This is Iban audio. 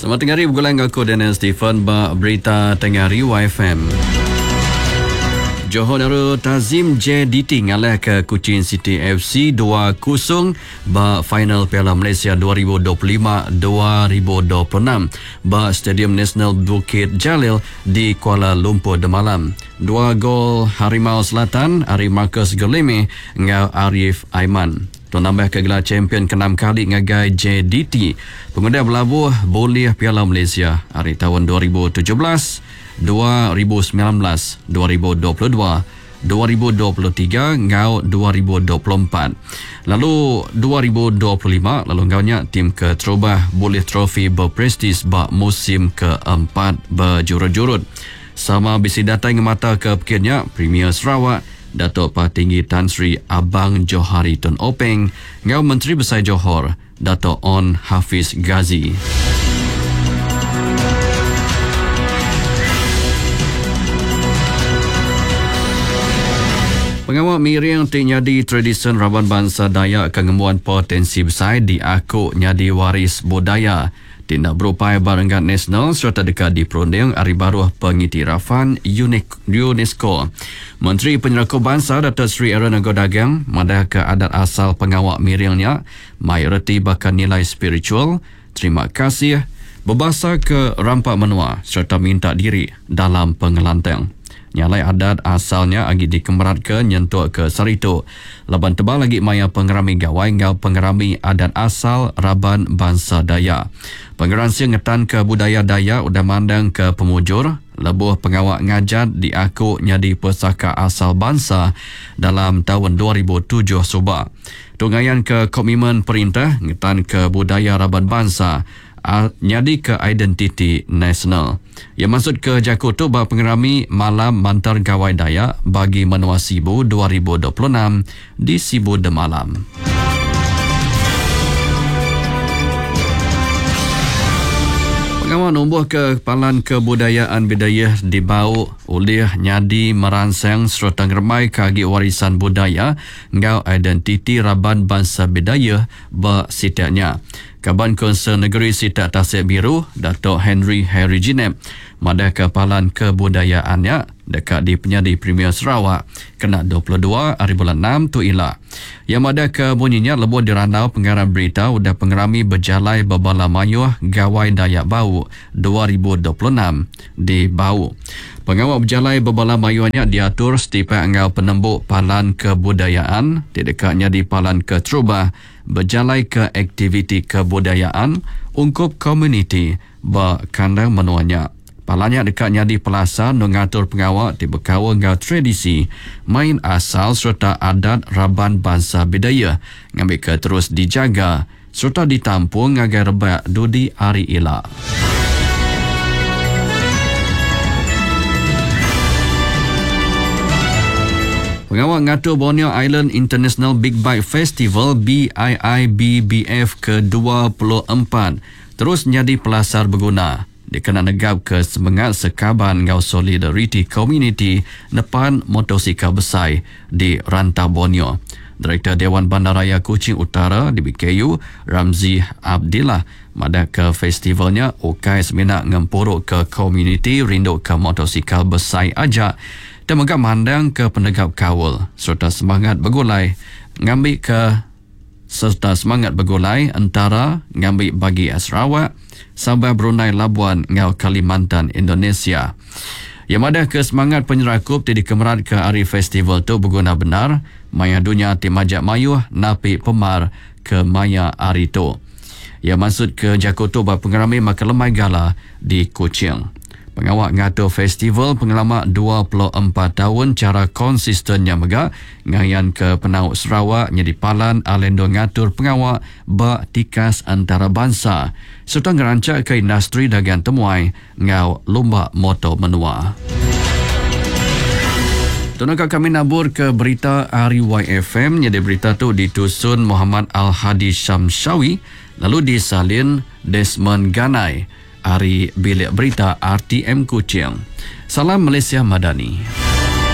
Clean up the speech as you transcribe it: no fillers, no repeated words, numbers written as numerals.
Selamat tengah hari begulai enggau aku Daniel Stephen ba Berita Tengah Hari YFM. Johor Darul Tazim JDT ngalahka Kuching City FC 2-0 ba final Piala Malaysia 2025-2026 ba Stadium Nasional Bukit Jalil di Kuala Lumpur demalam. Dua gol Harimau Selatan ari Marcus Guilherme enggau Arif Aiman. Tu nambahka gelar champion keenam kali ngagai JDT pengudah belabuh bulih Piala Malaysia ari taun 2017, 2019, 2022, 2023 enggau 2024 lalu 2025 lalu enggau nya tim keterubah bulih trofi berprestij ba musim keempat bejurut-jurut. Sama bisi datai ngemataka pekit nya Premier Sarawak Datuk Patinggi Tan Sri Abang Johari Tun Openg enggau Menteri Besai Johor Datuk Onn Hafiz Ghazi. Pengawa miring ti nyadi tradisyen raban bansa Dayak ke ngembuan potensi besai diaku nyadi waris budaya ti enda berupai ba renggat nasional sereta deka diperunding ari baruh Pengiktirafan UNESCO. Menteri Penyerakup Bansa Datuk Seri Aaron Ago Dagang madahka adat asal pengawa miring nya mai reti baka nilai spiritual, terima kasih, bebasa ke rampa menua sereta minta diri dalam pengelantang. Nya alai adat asal nya agi dikemeratka nyentuk ke sehari tu laban tebal agi maya pengerami gawai enggau pengerami adat asal raban bansa Dayak. Pengeransing ngetanka budaya Dayak udah mandangka pemujur lebuh pengawa ngajat diaku nyadi pesaka asal bansa dalam taun 2007 suba. Tu ngayanka komitmen perintah ngetanka budaya raban bansa nyadika identiti nasional. Iya mansutka jaku tu ba pengerami Malam Mantar Gawai Dayak Bagi Menua Sibu 2026 di Sibu demalam. Pengawa numbuhka Palan Kebudayaan Bidayuh di Bau ulih nyadi meransang sereta ngerembaika agi warisan budaya enggau identiti raban bansa Bidayuh ba sitak nya. Kaban Kaunsil Negeri Sitak Tasik Biru, Datuk Henry Harry Jinep madahka palan kebudayaan nya deka dipenyadi Premier Sarawak kena 22 hari bulan enam tu ila. Iya madahka munyi nya lebuh dirandau pengarang berita udah pengerami bejalai bebala mayuh Gawai Dayak Bau 2026 di Bau. Pengawa bejalai bebala mayuh nya diatur setipak enggau penembu palan kebudayaan ti deka nyadi palan keterubah bejalaika aktiviti kebudayaan ungkup komuniti ba kandang menua nya. Palan nya deka nyadi pelasar endur ngatur pengawa ti bekaul enggau tradisi, main asal sereta adat raban bansa Bidayuh ngambika terus dijaga sereta ditampung ngagai rebak dudi hari ila. Pengawa ngatur Borneo Island International Big Bike Festival BIIBBF ke 24 terus nyadi pelasar beguna dikena negapka semengat sekaban enggau solidariti komuniti nepan motosikal besai di rantau Borneo. Direktor Dewan Bandaraya Kuching Utara, DBKU, Ramzi Abdillah madahka festival nya ukai semina ngempuruka komuniti rinduka motosikal besai aja tang mega mandangka penegap kaul sereta semangat begulai ngambika sereta semangat begulai entara ngambi bagi Sarawak, Sabah Brunei Labuan enggau Kalimantan Indonesia. Iya madahka semangat penyerakup ti dikemeratka ari festival tu beguna bendar maya dunya ti majak mayuh napi pemar ke maya hari tu. Iya mansutka jaku tu ba pengerami makai lemai gala di Kuching. Pengawa ngatur festival pengelama 24 taun chara konsisten nya mega ngayanka penau Sarawak nyadi palan alai endur ngatur pengawa ba tikas entarabansa sereta ngeranchakka industri dagang temuai enggau lumba moto menua. Tu naka kami nabur ke berita ari YFM nyadi berita tu ditusun Muhammad Al-Hadi Shamshawi lalu disalin Desmond Ganai ari Bilik Berita RTM Kuching. Salam Malaysia Madani.